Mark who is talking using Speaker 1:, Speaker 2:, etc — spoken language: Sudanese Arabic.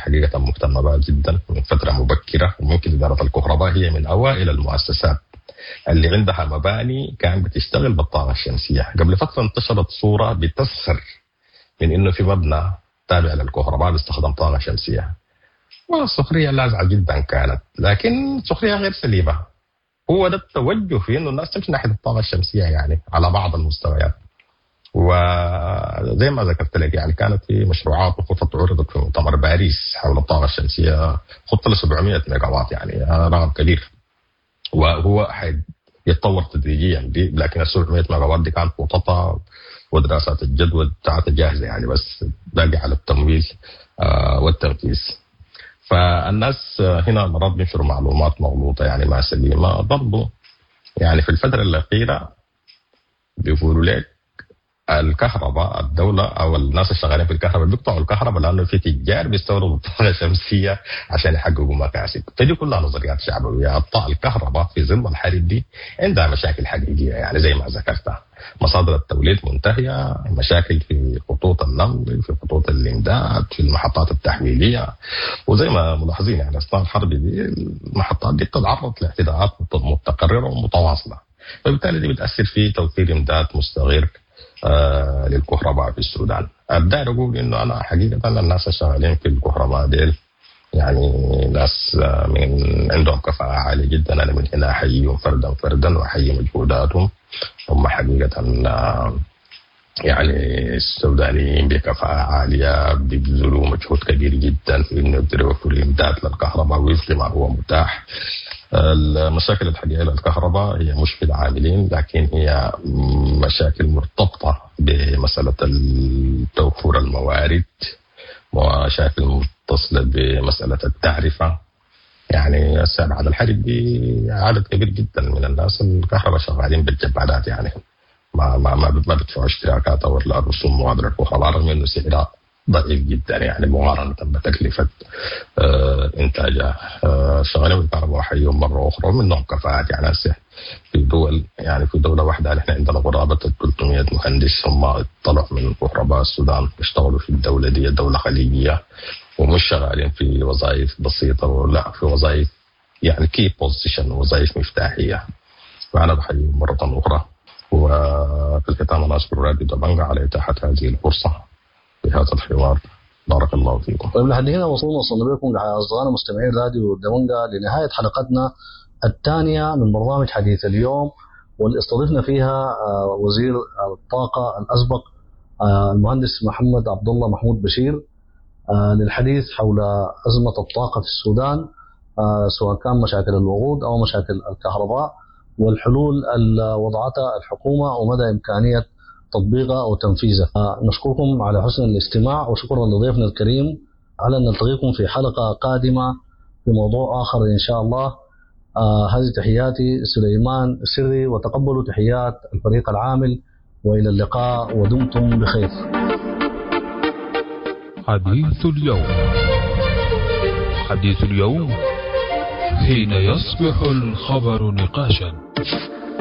Speaker 1: حقيقة مهتمة بها جدا من فترة مبكرة، وممكن إدارة الكهرباء هي من أوائل المؤسسات اللي عندها مباني كان بتشتغل بالطاقة الشمسية. قبل فترة انتشرت صورة بتسخر من إنه في مبنى تابع للكهرباء بيستخدم طاقة شمسية، والسخرية لاذعة جدا كانت، لكن سخرية غير سليمة. هو ده التوجه في إنه الناس تمشي ناحية الطاقة الشمسية يعني على بعض المستويات. وزي ما ذكرت لك يعني كانت في مشروعات وخطط عرضت في مؤتمر باريس حول الطاقة الشمسية، خطة ل 700 ميجا وات، يعني رقم كبير، وهو يتطور تدريجيا دي، لكن ال 700 ميجا وات دي كانت خططها ودراسات الجدوى بتاعتها جاهزة يعني، بس باقي على التمويل والتنفيذ. فالناس هنا مرات بينشروا معلومات مغلوطة يعني ما سليمة برضو. يعني في الفترة الأخيرة بيقولوا لك الكهرباء الدولة أو الناس الشغالين في الكهرباء بيقطعوا الكهرباء لأنه في تجار بيستوردوا الطاقة الشمسية عشان يحققوا مكاسب. فدي كلها نظريات شعبوية. الكهرباء في ظل الحرب دي عندها مشاكل حقيقية، يعني زي ما ذكرتها مصادر التوليد منتهية، مشاكل في خطوط النقل، في خطوط الإمداد، في المحطات التحويلية، وزي ما ملاحظين يعني أثناء الحرب دي المحطات دي بتتعرض لاعتداءات متكررة ومتواصلة، فبالتالي دي بتأثر في توفير إمداد مستمر للكهرباء في السودان. أبدأ أقول إنه أنا حقيقة الناس الشغالين في الكهرباء ديل يعني ناس من عندهم كفاءة عالية جدا، أنا من هنا أحييهم فردا فردا وأحيي مجهوداتهم. هم حقيقة يعني السودانيين بكفاءة عالية بيبذلوا مجهود كبير جدا في إنه يقدروا يوفروا إمداد للكهرباء وفق ما هو متاح. المشاكل الحقيقية للكهرباء هي مش في العاملين، لكن هي مشاكل مرتبطة بمسألة توفر الموارد، ومشاكل متصلة بمسألة التعرفة. يعني هسه بعد الحرب دي عدد كبير جدا من الناس الكهرباء شغالين بالجبادات، يعني ما ما ما ما بيدفعوا اشتراكات او رسوم مغادرة الكهرباء، رغم انه سعرها ضعيف جدا يعني مقارنة بتكلفة إنتاجها. شغالين بالكهرباء وحيهم مرة أخرى، ومنهم كفاءات. يعني هسه في دول، يعني في دولة واحدة نحن عندنا قرابة 300 مهندس هم طلعوا من كهرباء السودان اشتغلوا في الدولة دي، دولة خليجية، ومش شغالين في وظائف بسيطة، ولا في وظائف يعني key position، وظائف مفتاحية. فأنا بحييهم مرة أخرى. وفي الختام أنا أشكر راديو دبنجا على إتاحة هذه الفرصة في هذا الحوار. بارك الله فيكم.
Speaker 2: طيب لحد هنا وصلنا بكم أصدقائنا مستمعين راديو دبنجا لنهاية حلقتنا الثانية من برنامج حديث اليوم، واللي استضفنا فيها وزير الطاقة الأسبق المهندس محمد عبد الله محمود بشير للحديث حول أزمة الطاقة في السودان، سواء كان مشاكل الوقود أو مشاكل الكهرباء، والحلول اللي وضعتها الحكومة ومدى إمكانية تطبيقها أو تنفيذها. نشكركم على حسن الاستماع، وشكرا لضيفنا الكريم. على أن نلتقيكم في حلقة قادمة في موضوع آخر إن شاء الله. هذه تحياتي سليمان سري، وتقبلوا تحيات الفريق العامل، وإلى اللقاء ودمتم بخير.
Speaker 3: حديث اليوم، حديث اليوم حين يصبح الخبر نقاشا.